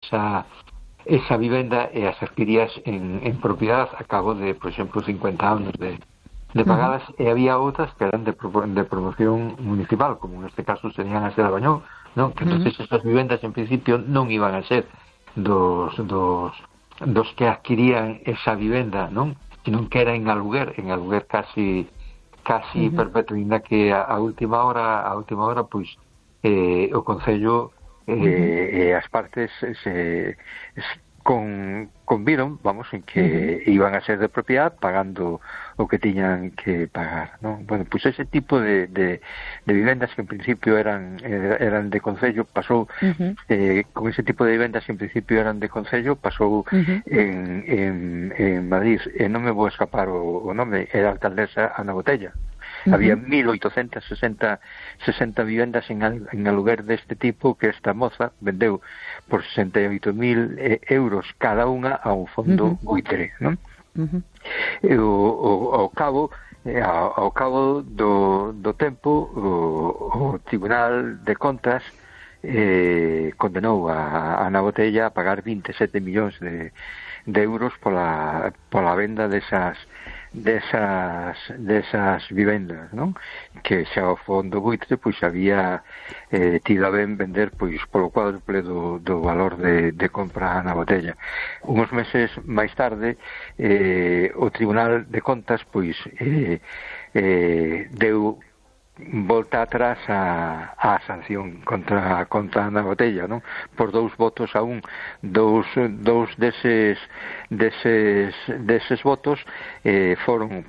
esa vivenda e as adquirías en propiedade a cabo de, por exemplo, 50 anos de pagadas, e había outras que eran de promoción municipal, como neste caso serían as de Labañón, non? Que entonces esas vivendas en principio non iban a ser dos que adquirían esa vivenda, non? Sino que era en aluguer casi perpetuo, ainda que a última hora pois o Concello e as partes conviron, vamos, en que iban a ser de propiedade pagando o que tiñan que pagar, non? Bueno, pois ese tipo de vivendas que en principio eran de Concello pasou con ese tipo de vivendas que en principio eran de Concello pasou en Madrid, e non me vou escapar o nome, era a alcaldesa Ana Botella. Había 1.860 vivendas en aluguer deste tipo que esta moza vendeu por 68.000 euros cada unha a un fondo buitre, non? E ao cabo do tempo o Tribunal de Contas condenou a Ana Botella a pagar 27 millóns de euros pola venda desas vivendas, non? Que xa o fondo buitre pois había tido a ben vender pois polo cuádruple do valor de compra na botella. Uns meses máis tarde o Tribunal de Contas pois deu volta atrás a sanción contra Ana Botella, non? Por 2 votos a 1. Dous deses votos foron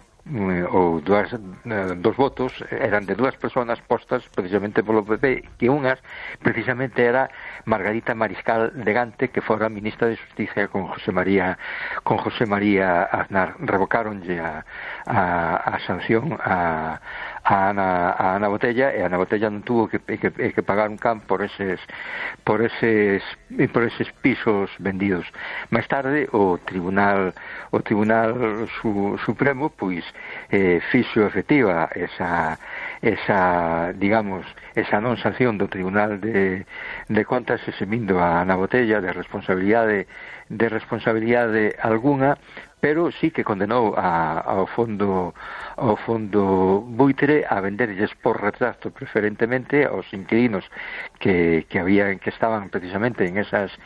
ou dos votos eran de 2 persoas postas precisamente polo PP, que unhas precisamente era Margarita Mariscal de Gante, que fora ministra de Justicia con José María Aznar. Revocáronlle a sanción a Ana Botella, e Ana Botella non tuvo que pagar un can por eses pisos vendidos. Máis tarde o Tribunal Supremo pois fixo efectiva esa non sanción do Tribunal de Contas, eximindo a Ana Botella de responsabilidade alguna, pero sí que condenou ao fondo buitre a venderlles por retrato preferentemente aos inquilinos que estaban precisamente en esas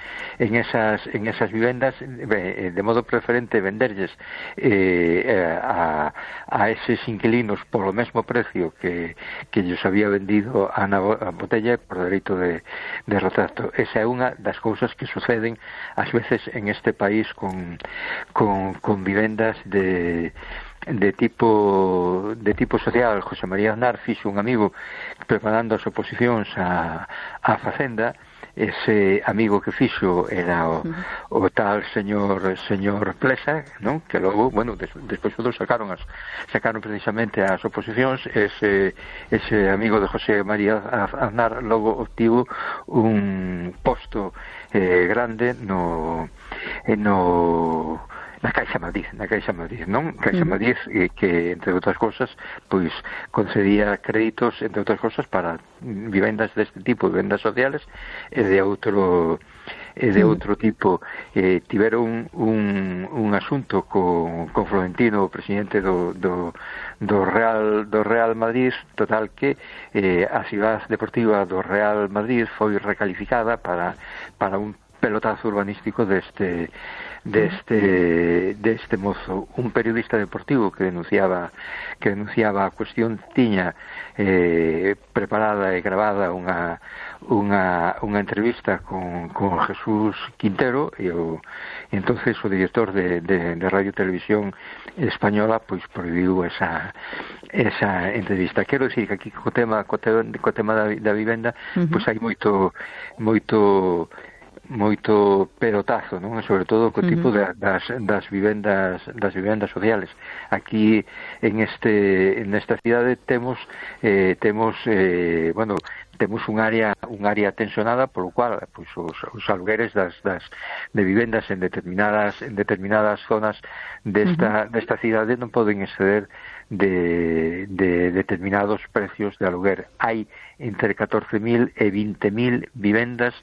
vivendas, de modo preferente venderlles a eses inquilinos polo mesmo precio que lles había vendido a Ana Botella por dereito de retrato. Esa é unha das cousas que suceden ás veces en este país con vivendas de tipo social. José María Aznar fixo un amigo preparando as oposicións a Facenda. Ese amigo que fixo era o tal señor Plesa, non? Que logo, bueno, despois todos sacaron precisamente as oposicións. Ese amigo de José María Aznar logo obtivo un posto grande na Caixa Madrid, non? Caixa Madrid, que, entre outras cousas, pois concedía créditos, entre outras cousas, para vivendas deste tipo, vivendas sociales, e de outro tipo. Tiveron un asunto con Florentino, o presidente do Real Madrid, total que a cidade deportiva do Real Madrid foi recalificada para un pelotazo urbanístico deste mozo. Un periodista deportivo que denunciaba a cuestión tiña preparada e gravada unha entrevista con Jesús Quintero, e entonces o director de Radio Televisión Española pois prohibiu esa entrevista. Quero dicir que aquí co tema da vivenda pois hai moito pelotazo, non? Sobre todo co tipo das vivendas sociales. Aquí en esta cidade temos un área tensionada, polo cual pois os alugueres de vivendas en determinadas zonas desta cidade non poden exceder de determinados precios de aluguer. Hai entre 14.000 e 20.000 vivendas